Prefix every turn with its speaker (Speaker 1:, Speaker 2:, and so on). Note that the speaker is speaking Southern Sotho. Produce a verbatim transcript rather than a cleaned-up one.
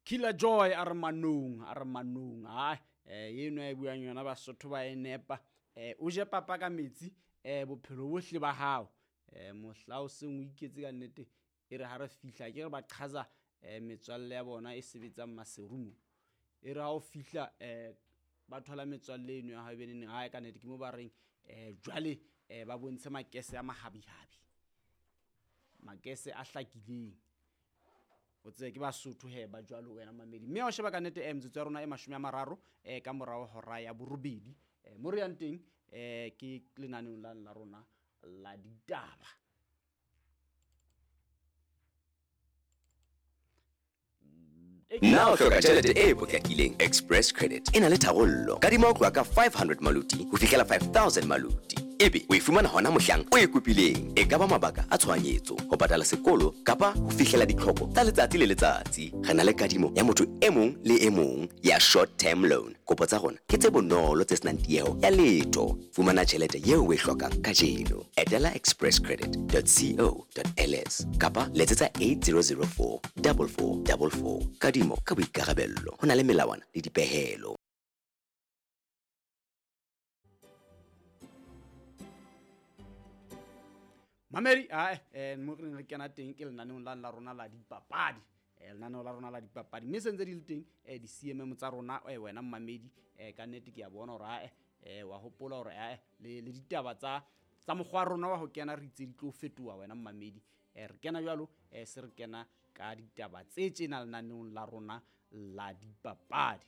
Speaker 1: Killer Joy a re manong, a re manong. Ai, eh eno e buang yona Basotho ba e nepa. Eh o je papa ka metsi, eh bophelo bohle ba hao. Eh mohla o seng o iketse ka nnete e re ha re fihla ke re ba qhaza eh metswalle ya bona e sebetsang Maseru. E re ha o fihla eh ba thola metswalle eno ya hao e beneng ha ka nnete ke mo ba reng eh jwale eh ba bontshe makese a mahabihabi. Makese a hlakileng. O tsebe ke Basotho he ba jwalo wena mamedi. Mme ha o sheba ka nnete eh metsotso ya rona e mashome a mararo eh ka morao hora ya borobedi. Eh mo re yang teng eh ke lenaneong la la rona la ditaba.
Speaker 2: Na o hloka tjhelete e potlakileng? Express Credit e na le tharollo. Kadima ho tloha ka five hundred maluti ho fihlela five thousand maluti. Ebe o e fumana hona mohlang o e kopileng. E ka ba mabaka a tshohanyetso, ho patala sekolo kapa ho fihlela ditlhoko tsa letsatsi le letsatsi. Re na le kadimo ya motho e mong le e mong ya short term loan. Kopo tsa rona ke tse bonolo tse senang tieho ya letho. Fumana tjhelete eo o e hlokang kajeno. Etela express credit dot co dot L S kapa letsetsa eight zero zero four double four double four. Kadimo ka boikarabello. Ho na le melawana le dipehelo.
Speaker 1: Mamedi, ae, eh, mo re re kena teng ke lenaneong la la rona la dipapadi. Eh, lenaneo la rona la dipapadi. Mme se ntse di le teng, eh, di C M M tsa rona, eh, wena mmamedi, eh, ka nnete ke a bona hore, ae, eh, wa hopola hore, ae, le, le ditaba tsa, tsa mokgwa wa rona wa ho kena re itse di tlo fetoha wena mmamedi. Eh, re kena jwalo, eh, se re kena ka ditaba tse tjena lenaneong la rona la dipapadi.